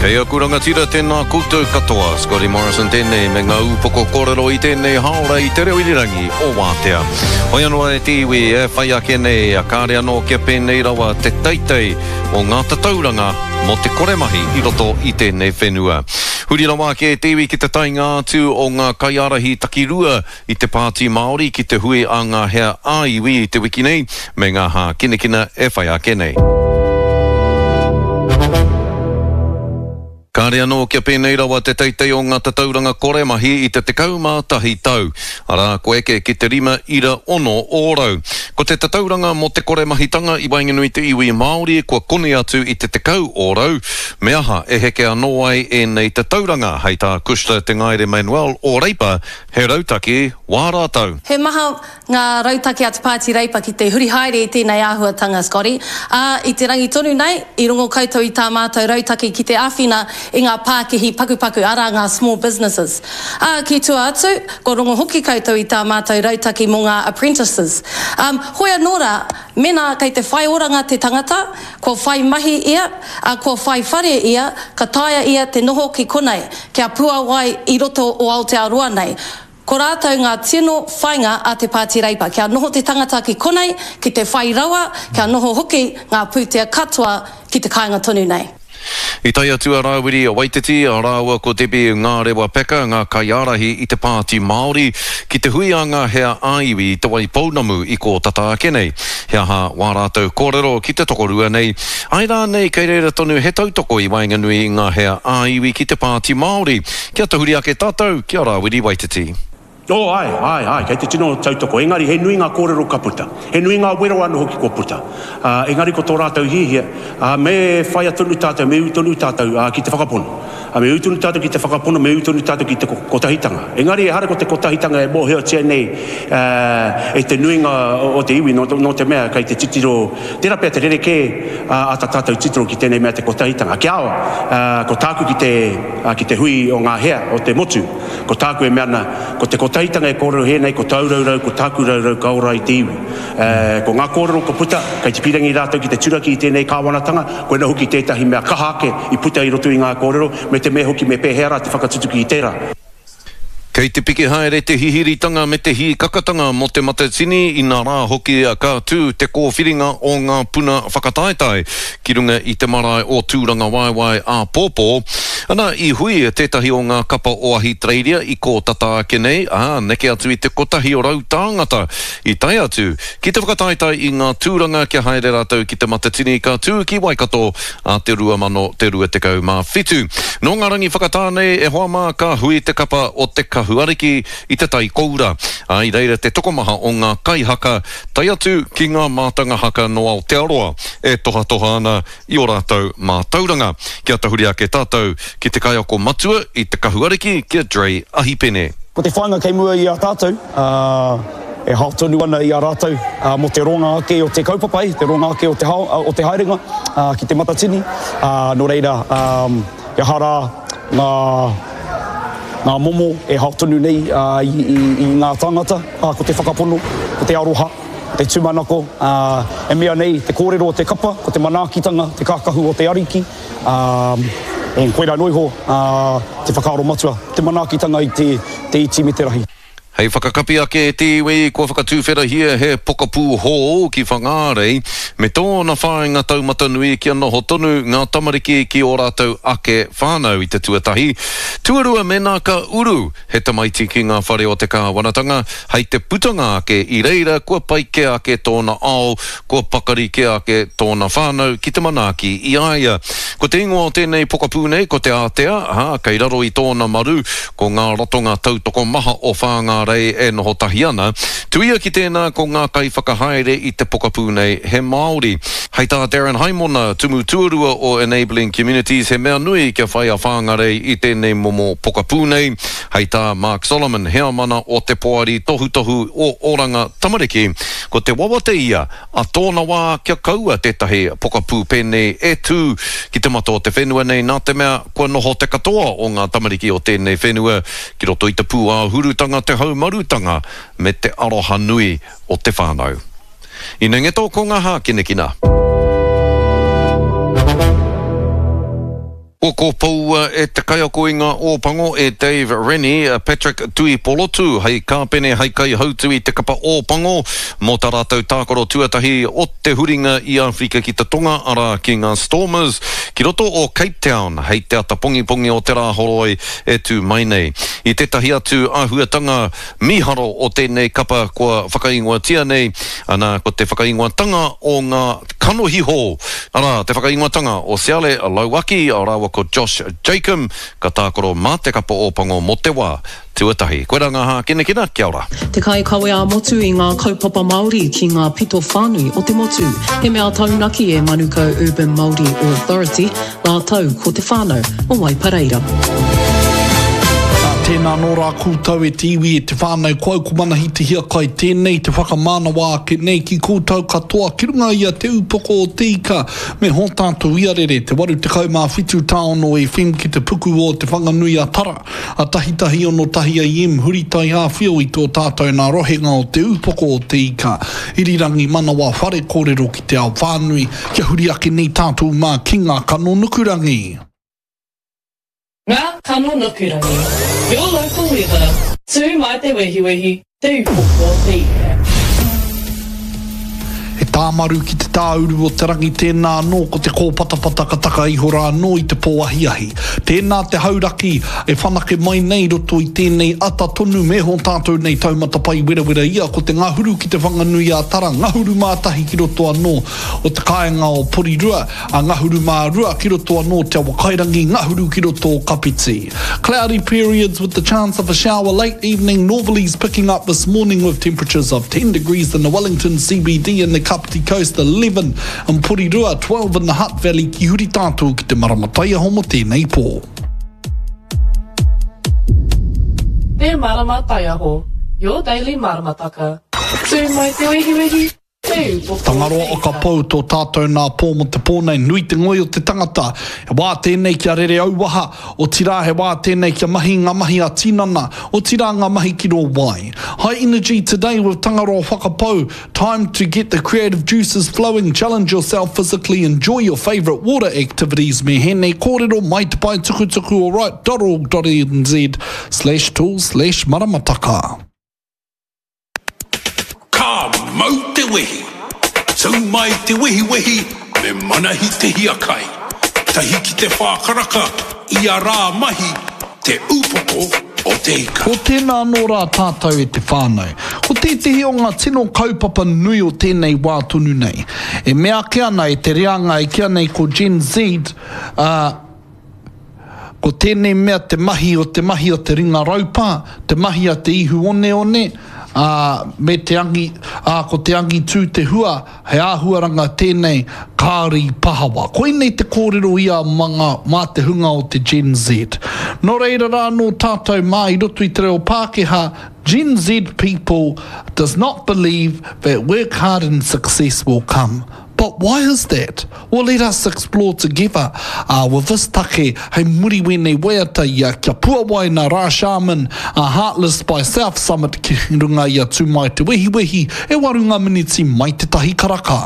Kei aku rangatira tēnā koutou katoa, Scotty Morrison tēnei me ngā ūpoko kōrero i tēnei hāora i te reo irirangi o Wātea. Hoi anō e te iwi e whai ake nei, kāre anō kia pēnei rawa te teitei o ngā tatauranga mō te kore mahi i roto i tēnei whenua. Huri rawa ake e te iwi ki te taenga atu o ngā kaiārahi takirua i te Pāti Māori ki te hui a ngā hea ā-iwi i te wiki nei, me ngā hākinakina e whai ake nei. Kāre anō kia pēnei rawa te teitei o ngā tatauranga kore mahi i te 11 tau, arā, kua eke ki te 5.6 ōrau. Ko te tatauranga mō te kore mahitanga i waenganui i te iwi Māori kua koni atu i te 10 ōrau, me aha e heke anō ai ēnei tatauranga, hei tā Cushla Te Ngaere Manuel o Reipa, He rautaki wā rātou. He maha ngā rautaki a Te Pāti Reipa ki te huri haere i tēnei āhuatanga, Scotty. Ā, i te rangi tonu nei, i rongo koutou i tā mātou rautaki ki te āwhina i ngā pākihi pakupaku, arā, ngā small businesses. Ā, ki tua atu, kua rongo hoki koutou i tā mātou rautaki mō ngā apprentices. Ā, hoi anō rā, mēnā kei te whai oranga te tangata, kua whai mahi ia, ā, kua whai whare ia, ka taea ia te noho ki konei, kia puawai i roto o Aotearoa nei. Ko rātou ngā tino whainga a te Pāti Reipa, kia noho te tangata ki konei, ki te whai rawa, kia noho hoki ngā pūtea katoa ki te kāinga tonu nei. I tae atu a Rāwiri Waititi rāua ko Debbie Ngārewa Peka, ngā kaiārahi i te Pāti Māori, ki te hui a ngā hea ā-iwi i Te Waipounamu i kō tata ake nei. He aha wā rātou kōrero ki te tokorua nei? Āe rānei kei reira tonu he tautoko i waenganui i ngā hea ā-iwi ki te Pāti Māori? Kia tahuri ake tātou ki a Rāwiri Waititi. Oh, āe, āe, āe, kei te tino tautoko. Engari, he nui ngā kōrero ka puta. He nui ngā wero anō hoki kua puta. Ā, engari ko tō rātou hiahia, ā, me whaia tonu tātou, me ū tonu tātou, ā, ki te whakapono. Ā, me ū tonu tātou ki te whakapono, me ū tonu tātou ki te kotahitanga. Engari, ehara ko te kotahitanga e mōhiotia nei, ā, e te nuinga o te iwi, nō, nō te mea kei te titiro, tērā pea te rerekē, ā, a tā tātou titiro ki tēnei mea te kotahitanga. Kia ao, ā, ko tāku ki te, ā, ki te hui o ngā hea o te motu, Ko tāku e mea ana, ko te kotahitanga e kōrero hē nei, ko tāu raurau, ko tāku raurau ka ora i te iwi. E, ko ngā kōrero kua puta, kei te pīrangi rātou ki te turaki i tēnei kāwanatanga, koina hoki tētahi mea kaha ake i puta i roto i ngā kōrero, me te mea hoki me pēhea rā te whakatutuki i tērā. Kei te piki haere te hihiritanga me te hīkakatanga mō Te Matatini, inā rā hoki ka tū te kōwhiringa o ngā puna whakataetae ki runga i te marae o Tūrangawaewae āpōpō. Ana, i hui tētahi o ngā kapa o Ahitereiria i kō tata ake nei, ā, neke atu i te 100 tāngata i tae atu ki te whakataetae i ngā tūranga kia haere rātou ki Te Matatini ka tū ki Waikato ā te 2027. Nō ngā rangi whakatā nei, e hoa mā, ka hui te kapa o Te Kahu Ariki i Te Tai Koura, ā, i reira te tokomaha o ngā kaihaka, tae atu ki ngā mātanga haka nō Aotearoa e tohatoha ana i ō rātou mātauranga. Kia tahuri ake tātou ki te kaiako matua i Te Kahu Ariki, ki a Dre Ahipene. Ko te whāinga kei mua i a tātou, e hao tonu ana i a rātou mō te ronga ake o te kaupapa, te ronga ake o te hao, o te haerenga ki Te Matatini. Nō reira, he aha rā ngā, ngā momo e hao tonu nei i ngā tāngata, ko te whakapono, ko te aroha. Te tūmanako, ā, e mea nei te kōrero o te kapa, ko te manaakitanga, te kākahu o te Ariki, ā, e, koirā noa iho, ā, te whakaaro matua, te manaakitanga i te, te iti me te rahi. Hei whakakapi ake e te iwi, kua whakatuwherahia he pokapū hou ki Whangārei, me tōna whāinga taumata nui kia noho tonu ngā tamariki ki ō rātou ake whānau i te tuatahi. Tuarua mēnā ka uru He tamaiti ki ngā whare o te kāwanatanga, hei te putanga ake i reira kua pai kē ake tōna ao, kua pakari kē ake tōna whānau ki te manaaki i a ia. Ko te ingoa o tēnei pokapū nei ko Te Ātea, ā, kei raro i tōna maru ko ngā ratonga tautoko maha o Whāngārei e noho tahi ana. Tuia ki tēnā ko ngā kaiwhakahaere i te pokapū nei he Māori. Hei tā Darren Haimona, Tumu Tuarua o Enabling Communities, he mea nui kia whai a Whāngarei i tēnei momo pokapū nei. Hei tā Mark Solomon, heamana o te Poari Tohutohu o Oranga Tamariki, ko te wawata ia a tōna wā kia kaua tētahi pokapū pēnei e tū ki te mata o te whenua nei nā te mea kua noho te katoa o ngā tamariki o tēnei whenua ki roto i te pūāhurutanga, te haumarutanga me te aroha nui o te whānau. Inengeto ko ngā hākinakina. Kua kōpoua e te kaiako i ngā Ōpango e Dave Rennie a Patrick Tuipolotu hei kāpene hei kaihautu i te kapa Ōpango mō tā rātou tākaro tuatahi o te huringa i Āwherika ki te Tonga, arā, ki ngā Stormers, ki roto o Cape Town hei te ata pongipongi o te Rāhoroi e tū mai nei. I tētahi atu āhuatanga mīharo o tēnei kapa kua whakaingoatia nei, ana, ko te whakaingoatanga o ngā kanohi hou, arā, te whakaingoatanga o Siale Lauaki rāua ko Josh Jacomb, ka tākaro mā te kapa Ōpango mō te wā tuatahi. Koirā ngā hākinakina, kia ora. Te kaikawe ā-motu i ngā kaupapa Māori ki ngā pito whānui o te motu. He mea taunaki e Manukau Urban Māori Authority rātou ko te whānau o Waipareira. Ā, tēnā anō rā koutou e te iwi, e te whānau, ko au ko Manahi Te Hiakai tēnei te whakamānawa ake nei ki koutou katoa ki runga i a Te Upoko o Te Ika me hō tātou iarere, te 87 tāono FM ki te puku o Te Whanganui a Tara, a tahitahi ono tahi AM huri taiāwhio i tō tātou nā rohenga o Te Upoko o Te Ika, irirangi manawa whare kōrero ki te ao whānui, Kia huri ake nei tātou mā ki ngā kano nukurangi. Ngā kano nukurangi. Your local weather. Tū mai te wehiwehi, te upoko o te ika. He tāmaru ki te tāuru o te rangi tēnā anō ko te kōpatapata ka taka iho rā anō i te pō ahiahi. Tēnā te hauraki e whanake mai nei i roto i tēnei ata tonu me hō tātou nei taumata pai werawera ia ko te ngahuru ki Te Whanganui-ā-Tara, ngahuru mā tahi ki roto anō o te kāinga o Porirua, a ngahuru mā rua ki roto anō Te Awakairangi, ngahuru ki roto o Kapiti. Cloudy periods with the chance of a shower late evening, northerlies picking up this morning with temperatures of 10 degrees in the Wellington CBD and the Kapiti Coast, 11 in Porirua, 12 in the Hutt Valley ki huri tātou ki te marama taiaho mo tēnei pō. Te Marama Taiaho, your daily maramataka. Tū mai te wehiwehi, Tangaroa o ka pou tō tātou nā pō mō te pō nei, nui te ngoi o te tangata. He wā tēnei kia rere auaha, otirā he wā tēnei kia mahi ngā mahi a tinana, otirā ngā mahi ki rō wai. High energy today with Tangaroa Whakapau, time to get the creative juices flowing, challenge yourself physically, enjoy your favourite water activities me hēnei kōrero mai te pae tukutuku alright dot org dot nz slash tools slash maramataka. Ka mau te wehi! Tū mai te wehiwehi me Manahi Te Hiakai. Tahi ki te whā karaka ia rā mahi Te Upoko o Te Ika. Ko tēnā anō rā tātou e te whānau. Ko tētehi o ngā tino kaupapa nui o tēnei wā tonu nei. E mea ake ana e te reanga e kīa nei ko Gen Z, ā, Ko tēnei mea te mahi o te mahi a te ringa raupā, te mahi a te ihu oneone, ā, me te angi, ā, ko te angitū te hua, he āhuaranga tēnei kāore i pahawa. Koinei te kōrero ia mā ngā, mā te hunga o te Gen Z. Nō reira rā anō tātou mā i roto i te reo Pākehā, Gen Z people does not believe that work hard and success will come. But why is that? Well let us explore together uh, with this take hei muri wēnei waiata ia kia puawai nā Rā Sharman a Heartless by South Summit ki runga i a Tū Mai Te Wehiwehi e waru ngā miniti mai te tahi karaka.